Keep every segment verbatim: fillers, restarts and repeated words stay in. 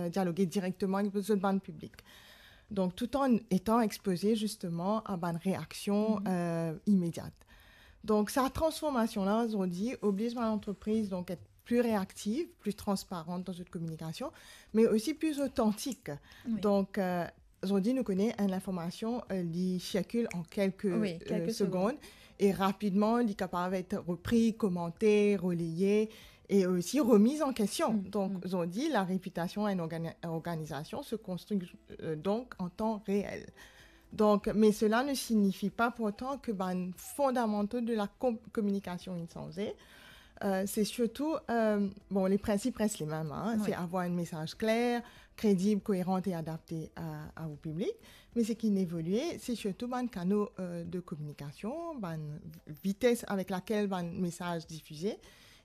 dialoge direkteman avek zot bann piblik. Donk, tout an etan expoze zisteman a bann reaksion, mhm, euh, imediat. Donk, sa transformasion la, zordi, obliz bann lantrepriz, donk, et pli reaktiv, pli transparan dan zot kominikasion, me osi pli otantik. Wi. Donk, euh, zordi, nou kone enn linformasion, euh, li sirkil an kelke, wi, euh, kelke segond, segond, e rapidman, li kapav et repri, komante, releye, e osi remiz an kestion. Mm, donk, mm, zordi, larepitasion enn organi-, organizasion se konstri, euh, donk an tan reel. Donk, me sela ne signifi pa pourtan ke bann fondamanto de la com-, kominikasion inn sanze. Euh, se sirtou, euh, bon, le prinsip res lemem, hein, wi, se avoir enn mesaz kler, kredib, koeran e adapte a, a ou piblik. Me seki inn evolie, se sirtou bann kano, euh, de kominikasion, bann vites avek lakel bann mesaz difize,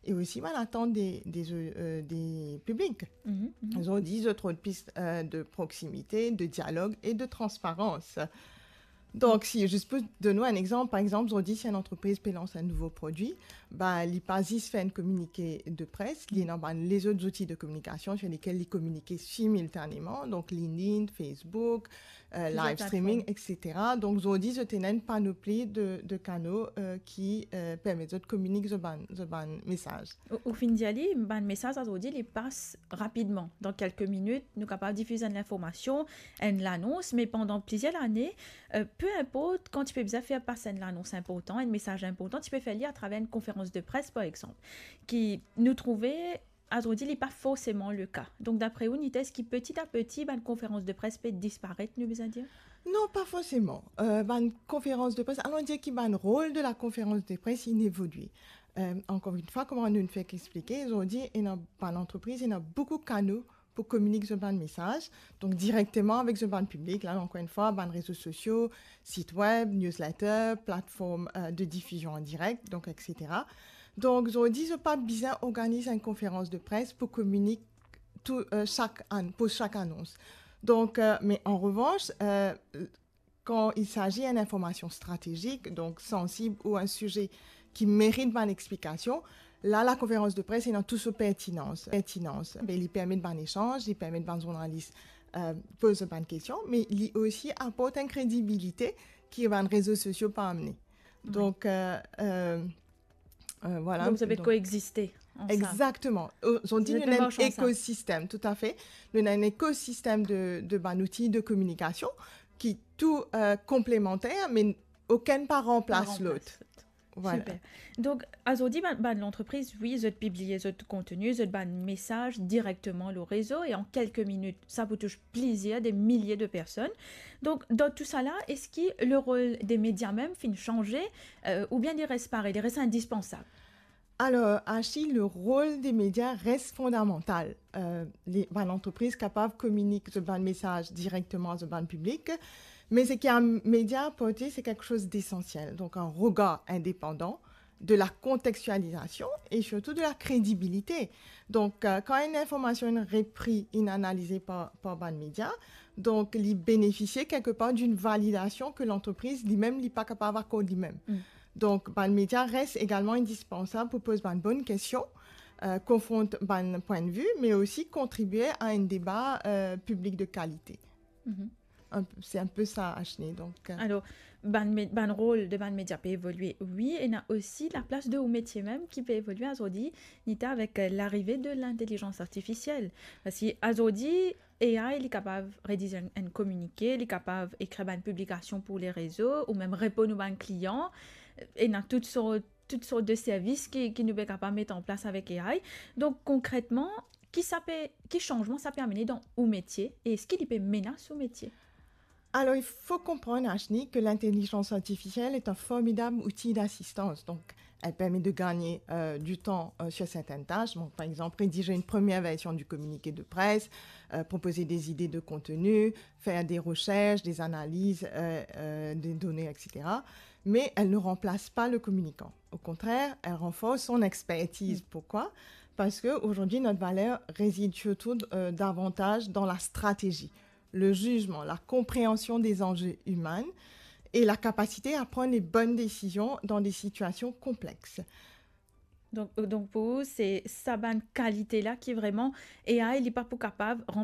e osi bann atant de, de, euh, de piblik. Mhm, mhm. Zordi, zot rod plis, euh, de proksimite, de dialog e de transparans. Donk, si, zis pou donn ou enn exanp, par exanp, zordi, si enn antrepriz pe lans enn nouvo prodwi, ba, li pa zis fer enn kominike de pres, li ena bann lezot zouti de kominikasion sir lekel li kominike similtaneman, donk LinkedIn, Facebook, euh, live streaming, plizier platform, et cetera. Donk, zordi, zot ena enn panopli de, de kano, euh, ki, euh, permet zot kominik zot bann, zot bann mesaz. Ou, ou finn dir li, bann mesaz azordi, li pas rapidman. Dan kelke minit, nou kapav difiz enn linformasion, enn lanons, me pandan plizier lane, euh, pe inport kan ti pe bizin fer pas enn lanons inportan, enn mesaz inportan, ti pe fer li atraver enn konferans de pres, par exanp, ki nou trouve, azordi, li pa forseman le ka. Donk, dapre ou, Nita, eski peti a peti, bann konferans de pres pe disparet, nou bizin dir? Non, pa forseman. Euh, bann konferans de pres, alon dir ki bann rol de la konferans de pres, inn evolie. Euh, ankor enn fwa, kouma nou fek explike, zordi, ena bann antrepriz, ena boukou kano pou kominik zot bann mesaz, donk direkteman avek zot bann piblik, la, ankor enn fwa, bann rezo sosio, sit web, newsletter, platform, euh, de difizion an direk, donk, et cetera. Donk, zordi, zot pa bizin organiz enn konferans de pres pou kominik tou, euh, sak an-, pou sak anons. Donk, euh, me an revans, euh, kan il s'agit enn informasion stratezik, donk sansib ou enn size ki merit bann explikasion, la, la konferans de pres ena tou so pertinans, pertinans. Be, li permet bann esanz, li permet bann zournalis, euh, poz bann kestion, me li osi aport enn kredibilite ki bann rezo sosio pa amene. Wi. Donk, euh, euh, Euh, voilà. Donk, zot pe koexiste ansam. Exactement. Euh, zordi, nou ena enn ekosistem, toutafe. Nou ena enn ekosistem de, de bann zouti de kominikasion ki tou, euh, konplemanter, me okenn pa ranplas lot. Pa ranplas lot. Voilà. Super. Donk, azordi, bann, bann lantrepriz, wi, zot pibliye zot kontni, zot bann mesaz direkteman lor rezo, e an kelke minit, sa pou tous plizier, de milie de personn. Donk, dan tou sa la, eski le rol de media mem finn sanze, euh, oubien li res parey, li res indispansab? Alor, Ashley, le rol de media res fondamantal. Euh, le, bann lantrepriz kapav kominik zot bann mesaz direkteman zot bann piblik, me seki enn media aporte, se kiksoz desansiel. Donk, enn regar indepandan, de la kontekstializasion e sirtou de la kredibilite. Donk, euh, kan enn informasion inn repri, inn analize par, par bann media, donk li benefisie kelkepar d'enn validasion ke lantrepriz limem li pa kapav akord limem. Mm. Donk, bann media res egalman indispansab pou poz bann bonn kestion, euh, konfront bann pwin de vi, me osi kontribie a enn deba, euh, piblik de kalite. Mhm. Enn, se enn pe sa, Ashley. Donk, euh, alor, bann me-, bann rol de bann media pe evolie, wi, ena osi laplas de ou metie mem ki pe evolie azordi, Nita, avek, euh, larive de lintelizans artifisiel. Parski azordi, A I, li kapav rediz enn, enn kominike, li kapav ekrir bann piblikasion pou le rezo, ou mem reponn ou bann klian. Ena tout sort, tout sort de servis ki, ki nou pe kapav met an plas avek A I. Donk, konkretman, ki sa pe, ki sanzman sa pe amene dan ou metie e eski li pe menas ou metie? Alor, il faut comprendre, Ashley, que l'intelligence artificielle est un formidable outil d'assistance. Donc, elle permet de gagner, euh, du temps, euh, sur certaines tâches. Donc, par exemple, rédiger une première version du communiqué de presse, euh, proposer des idées de contenu, faire des recherches, des analyses, euh, euh, des données, et cetera. Mais elle ne remplace pas le communicant. Au contraire, elle renforce son expertise. Mm. Pourquoi ? Parce qu'aujourd'hui, notre valeur réside surtout, euh, davantage dans la stratégie, le jugement, la compréhension des enjeux humains et la capacité à prendre les bonnes décisions dans des situations complexes. Donk, euh, donk pou ou, se sa bann kalite la ki vreman, A I, li pa pou kapav ranplas